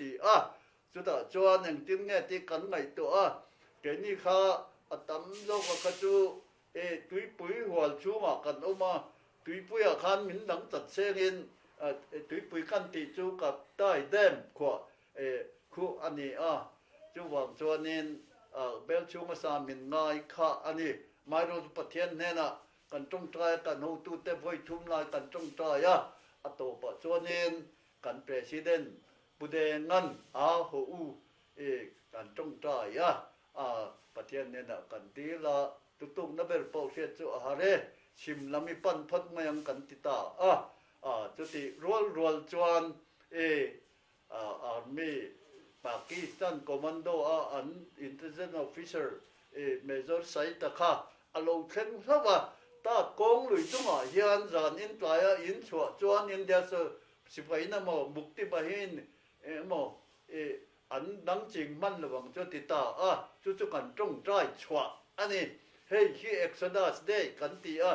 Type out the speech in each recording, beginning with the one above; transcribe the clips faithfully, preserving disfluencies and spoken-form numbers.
si a chutah chuan engtin nge ti kan ngaihtuah a keini kha a tam zawk a kha chu e tuipui hual chhungah kan awm a tuipuiah khan min dang chat sengin tuipui kan tih chu Kaptai Dam khuah e khu ani a chuwang chuanin bel chhunga sa min ngai kha ani mai ro Pathian hnena kan tawngtai kan hotu te voi thum lai kan tawngtai a a to pa chuanin kan president pude ngan a ho u e kan tawngtai a a Pathian hnena kan dila tutuk na ber pawh hriat chu a hare chim lami pan phot mayang kan ti ta a a chuti rual rual chuan e army Pakistan commando a an intelligence officer e Major Saita kha alo thleng hlawa ta kong lui chunga hian zan in tlaya in chhuah chuan India so sipai na mo mukti bahin e mo e an dang ching man lawang chu ti ta a chu chu kan tong trai chhuah ani hei hi Exodus Day kan ti a.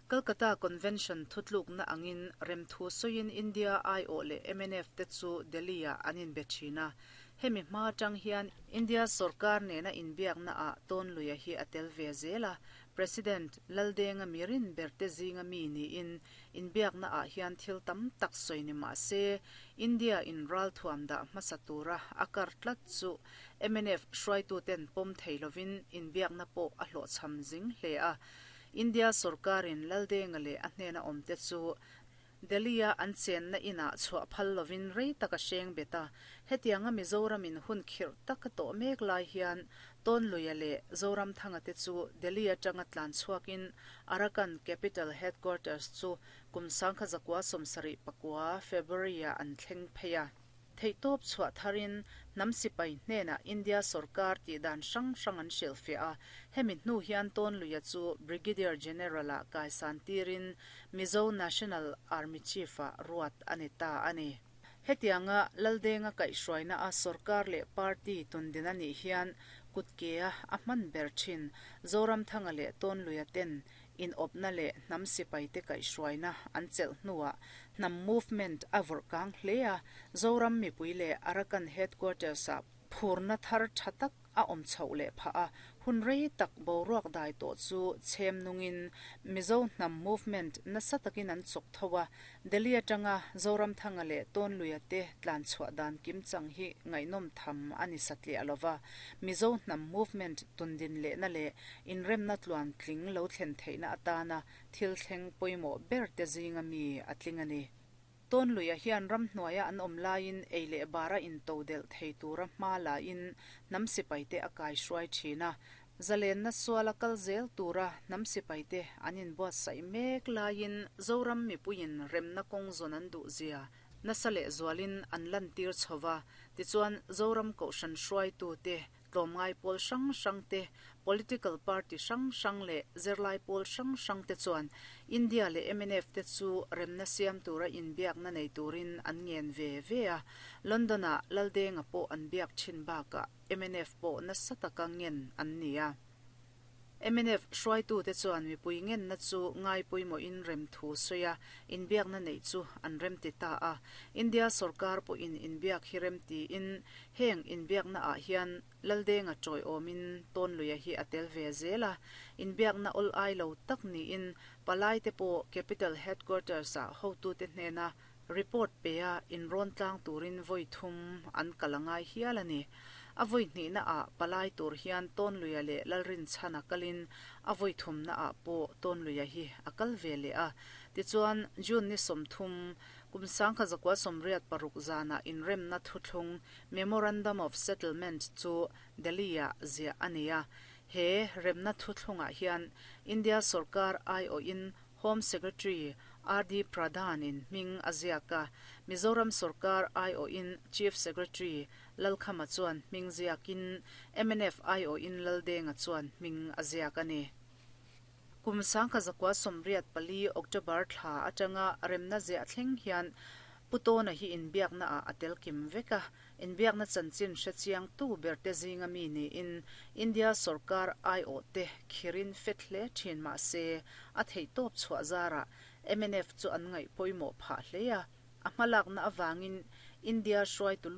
Calcutta Convention thutluk na angin remthu soin India I O le M N F te chu Delhi-a anin be thina. Hemi hma tang hian India sarkar nena inbiak na a ton luya hi atel ve zela. President Laldenga mirin berte zinga mi ni in inbiak na a hian thil tam tak soini ma se India in ral thuam da hmasatura akar tlat chu M N F hruaitu ten pom theilovin inbiak na po a hlo cham zing hle a. India sarkarin Laldenga le a hnena awmte chu Delhi-a an chen na ina chhuah phal lovin rei taka hreng beta. Hetianga Mizoramin hun khirh taka tawh mek lai hian Tawnluia leh Zoramthanga te chu Delhi atanga tlan chhuakin Arakan Capital Headquarters chu kum sangkha zakua sawmsarih pakua February-a an thleng phei a. Theihtawp chhuah tharin hnam sipai hnena India sarkar tih dan hrang hrang an hrilhfiah a. Hemi hnu hian Tawnluia chu Brigadier General-a kaisan tirin Mizo National Army Chief-a ruat ani ta ani. Hetianga Laldenga kaihhruaina a sarkar leh party tundin anih hian kutkea a hman ber thin Zoramthanga leh Tawnluia ten in awpna leh hnam sipai te kaihhruaina an chelh hnuah hnam movement a vawrh kang hle a. Zoram mipui leh Arakan Headquarters-a phurna thar tha tak a awm chhoh leh phah a. Hun rei tak boruak dai tawh chu chhem nungin Mizo hnam movement nasa takin an chawk tho a. Delhi atanga Zoramthanga leh Tawnluia te tlan chhuah dan kim chang hi ngaihnawm tham ani satliah lova. Mizo hnam movement tundin leh na leh inremna tluan tling lo thlen theihna atana thil thleng pawimawh ber te zinga mi a tling ani. Tawnluia hian ram hnuaia an awm laiin ei leh bara in to del thei tura hma lain hnam sipai te a kai hruai thin a. Zalenna suala kal zel tura hnam sipai te an inbuatsaih mek laiin Zoram mipuiin remna kawng zawn an duh zia nasa leh zualin an lan tir chhowa. Tichuan Zoram kohhran hruaitu te, tlawmngai pawl hrang hrang te, political party hrang hrang leh zirlai pawl hrang hrang te chuan India leh M N F te chu remna siam tura inbiakna nei turin an ngen ve ve a. London-a Laldenga pawh an biak thin bakah M N F pawh nasa taka ngen an ni a. M N F hruaitu te chuan mipui ngenna chu ngai pawimawhin rem thu sawi a inbiakna nei chu an rem ti ta a. India sarkar pawhin inbiak hi rem tiin heng inbiakna ah hian Laldenga tawi awmin Tawnluia hi a tel ve zel a. Inbiakna awl ai lo tak niin palai te pawh Capital Headquarters ah hotu te hnena report pe a inrawn tlang turin voi thum an kalangai hial ani. A voi hnihna ah palai tur hian Tawnluia leh Lalrin chan a kalin a voi thumna ah pawh Tawnluia hi a kal ve leh a. Tichuan June ni sawmthum kum sangkha zakua sawmriat paruk zana inremna thuthlung, Memorandum of Settlement, chu Delhi-a ziah ani a. He remna thuthlungah hian India sarkar ai awhin Home Secretary R D Pradhan in hming a ziak a. Mizoram sarkar ai awhin Chief Secretary Lalkhama chuan hming ziakin M N F ai awhin Laldenga chuan hming a ziak ani. Kum sangkha zakua sawmriat pali October thla atanga remna ziah thleng hian Putawna hi inbiakna ah a tel kim vek a. Inbiakna chanchin hrechiang tu ber te zinga mi niin India sarkar ai awh te khirin fet hle thin ma se a theihtawp chhuah zara M N F chu an ngaih pawimawh phah hle a. A hmalakna awangin India hruai tulu